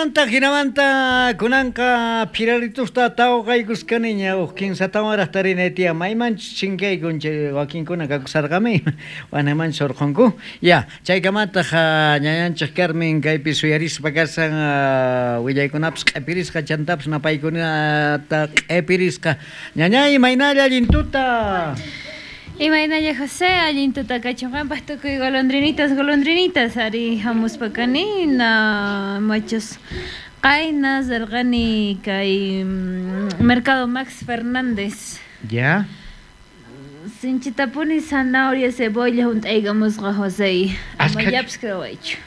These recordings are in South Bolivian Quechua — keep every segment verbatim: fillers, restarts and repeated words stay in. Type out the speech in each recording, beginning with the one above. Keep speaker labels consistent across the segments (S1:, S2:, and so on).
S1: Jinamanta, jinamanta, kunanqa phiraritusta tawqaykuskaniña uj kinsatawan tarinay tiyan maymanchus chinkaykun chay wakinkuna kakusarqami wanamanchus urqhunku. Ya, chaykamataq ñañanchik Carmen kaypi suyarispa kashan willaykunapis q'ipirisqa chantapis napaykunata q'ipirisqa. Ñañay, imaynalla allin tuta?
S2: Imaynalla José, allin tuta kachun qanpaq tukuy golondrinitas, golondrinitas ari hamuspa kani na machos qayna rirqani kay Mercado Max Fernández.
S1: Ya.
S2: Sinchitapuni zanahoria, cebolla hunt'aykamusqa José. Amayllapis creewaychu.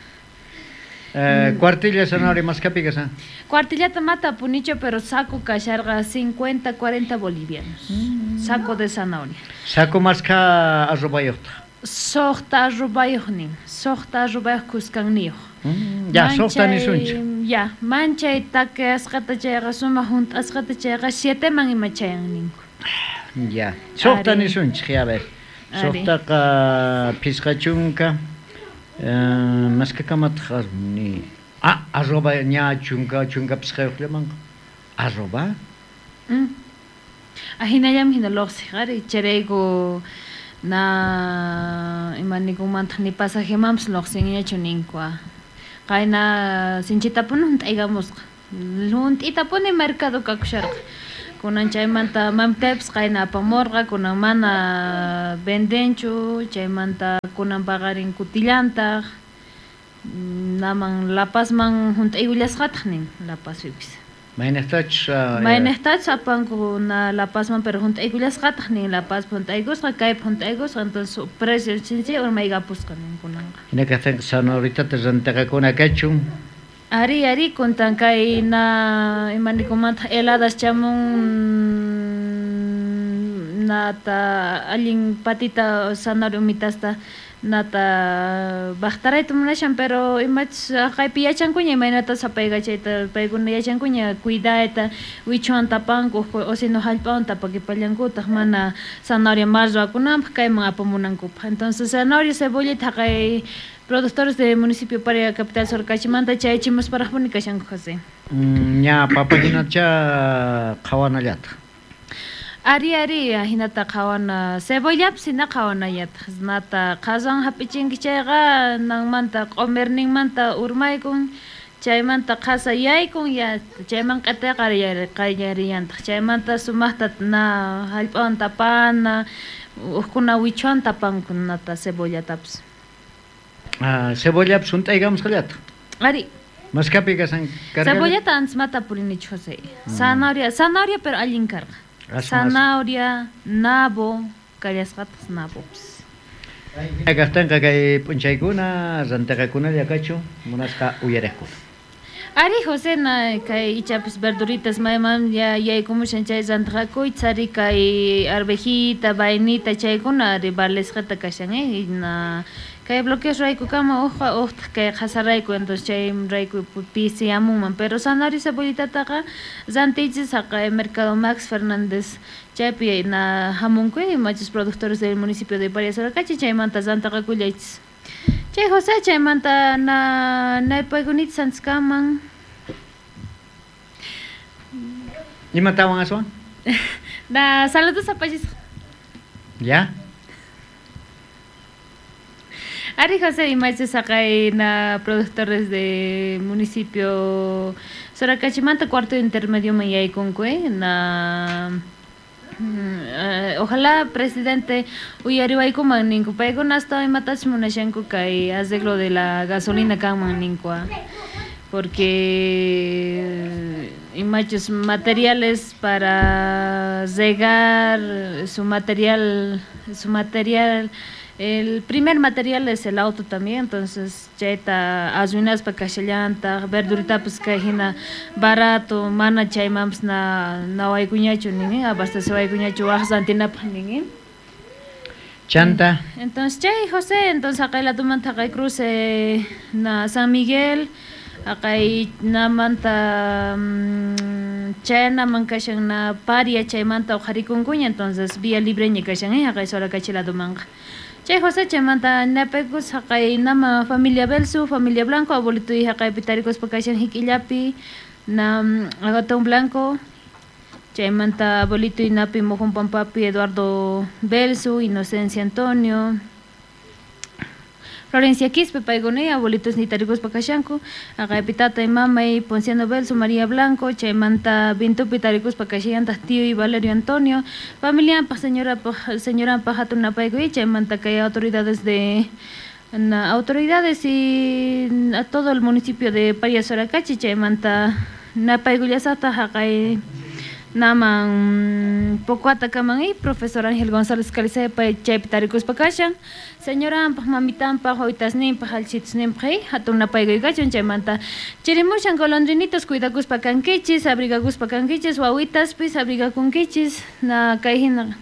S1: Eh, cuartilla zanahoria maskapi kashan.
S2: Cuartillata mata punicho, pero saco kasharqa cincuenta, cuarenta bolivianos. Mm. Saco de zanahoria.
S1: Saco maska arrobayuqta.
S2: Suqta arrobayuq nin. Suqta arrobayuq kuskanniyuq.
S1: Mm. Ya, suqta nisunchik.
S2: Ya, manchay takasqata chayqa sumaq hunt'asqata chayqa sieteman ima chayan ninku.
S1: Ya, suqta nisunchik, ya a ver. Suqtaqa phisqa chunka. Uh, maskakamataq ni ah arroba ña chunka chunka phisqayuqllamanqa arroba
S2: mm. Ahinallam hina luqsiq ari chayrayku na imanikunmantaq ni pasajemanpis luqsinñachu ninku qayna sinchitapuni hunt'aykamusqa hunt'itapuni mercado kakusharqa kunan chaymanta mamitaypis qayna apamurqa kunan mana vendenchu chaymanta kunan paqarin kutillantaq naman La Pazman hunt'aykullasqataq nin La Pazpipis.
S1: Maynaqtachus
S2: maynaqtachus apanku na La Pazman pero hunt'aykullasqataq nin La Pazpi hunt'aykusqa kaypi hunt'aykusqa entonces precio sinchi urmaykapusqa nin kunanqa.
S1: Hina kaqtinqa zanahoritata rantiqakuna kachun.
S2: Ari, ari, kuntan kay na imanikumanta heladas chamun nata allin patita zanahoria umitasta nata baqtarayta munashan pero imachus kaypi yachankuña imaynata sapaykachayta paykuna yachankuña cuidayta wichuwan tapanku o sino hallp'awan tapakipallankutaq mana zanahoria mal ruwakunanpaq kayman apamunankupaq. Entonces zanahoria cebollita haqay productores del municipio Paria capital Sorocachimanta chayachimusparaqpuni kashanku José.
S1: Mm, ña papahinacha qhawanallataq.
S2: Ari, ari, hinata qhawana cebollapis hina qhawanallataq nata qhasan hap'ichinki chayqa nanmanta q'umirninmanta urmaykun chaymanta qhasa yaykun ya chayman q'itayqa qallarillantaq chaymanta sumaqta na hallp'awan tapana uqkuna wichuwan tapanku nata cebollatapis.
S1: Ah, cebollapis hunt'aykamusqallataq.
S2: Ari.
S1: Maskapi kashan karqa.
S2: Cebollata antes mata purinichu José. Zanahoria, zanahoria pero allin karqa. Zanahoria, nabo, kallasqataq nabopis.
S1: Kaqtinqa kay p'unchaykuna rantiqakunalla kachun munasqa uyariqkuna.
S2: Ari José na kay ichapis verduritas mayman ya yaykumushan chay rantiqakuy tsari kay arvejita, vainita chaykuna ari valesqata kashan eh na kay bloqueos raykukama uqqa uqtaq kay qhasarayku entonces chay rayku pisiyamunman pero zanahoria cebollitataqa rantiychis haqay Mercado Max Fernández chaypi na hamunku imachus productores del municipio de Paria Sorocachi chaymanta rantiqakullaychis. Chay José chaymanta na naypaykunita santiskaman.
S1: Imatawan aswan?
S2: Na saludos apallisqa.
S1: Ya.
S2: Ari José imachus haqay na productores de municipio Soracachimanta cuarto intermedio man yaykunku eh na Uh, ojalá presidente uyariwaykuman ninku paykuna hasta imatachus munashanku kay arreglo de la gasolina kanman ninku porque imachus materiales para regar su material su material el primer material es el auto también, entonces chayta arruinaspa kashallantaq verduritapas kay hina barato mana chaymanpas na nawaykuñachu nin abastecewaykuñachu waj rantinapaq nin.
S1: Chanta.
S2: Entonces chay José, entonces haqay ladomanta haqay cruce na San Miguel haqay namanta chaynaman kashan na Paria chaymanta uqharikunkuña entonces vía libreña kashan eh haqay Sorocachi ladomanqa. Chay José chaymanta napaykus haqay nama familia Belsu, familia Blanco, abuelito y haqaypi tarikuspa kashan hik'illapi na Agatón Blanco, chaymanta abuelito inapi Mojón Pampapi Eduardo Belsu, Inocencia Antonio, Florencia Quispe, paykuna abuelitos nitarikuspa kashanku, haqaypi tatay mamay Ponciano Belsu, María Blanco, chaymanta Vintupi tarikuspa kashallantaq tío y Valerio Antonio, familianpaq señorapaq señoranpaq hatun napaykuy, chaymanta kay autoridades de na, autoridades y a todo el municipio de Parias-Soracachi, chaymanta napaykullasaqtaq haqay naman Pocoatakaman y profesor Ángel González Calizaya pay chaypi tarikuspa kashan, señoranpaq mamitanpaq wawtasninpaq allchitusninpaq hatun napaykuy kachun, chaymanta chirimushan golondrinitos cuidakuspa kankichis, abrigakuspa kankichis, wawitaspis abrigakunkichis, na kay hina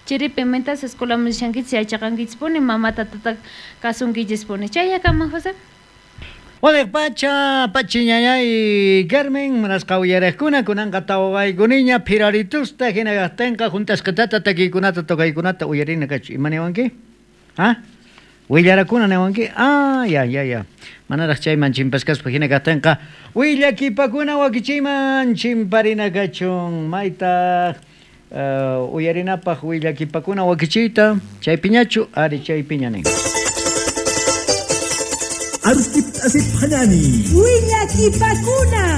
S2: chiripi mientras escuelaman rishankichis yachaqankichispuni mamata tata kasunkichispuni. Chayakaman José.
S1: Waliq pacha, pachi ñañay Carmen, manasqa uyariqkuna kunanqa tawqaykuniña phiraritusta hina kaqtinqa juntasqatata takiykunata tocaykunata uyarina kachu. Ima niwanki? Ha? Willarakuna niwanki? Ah, ya, ya, ya. Manaraq chayman chimpaskaspa hina kaqtinqa willakipakuna wakichiyman chimparina kachun. Maytaq uh, uyarinapaq willakipakuna wakichiyta chaypiñachu ari chaypiña nin.
S3: Arusquip asip hanani.
S4: Willakipakuna.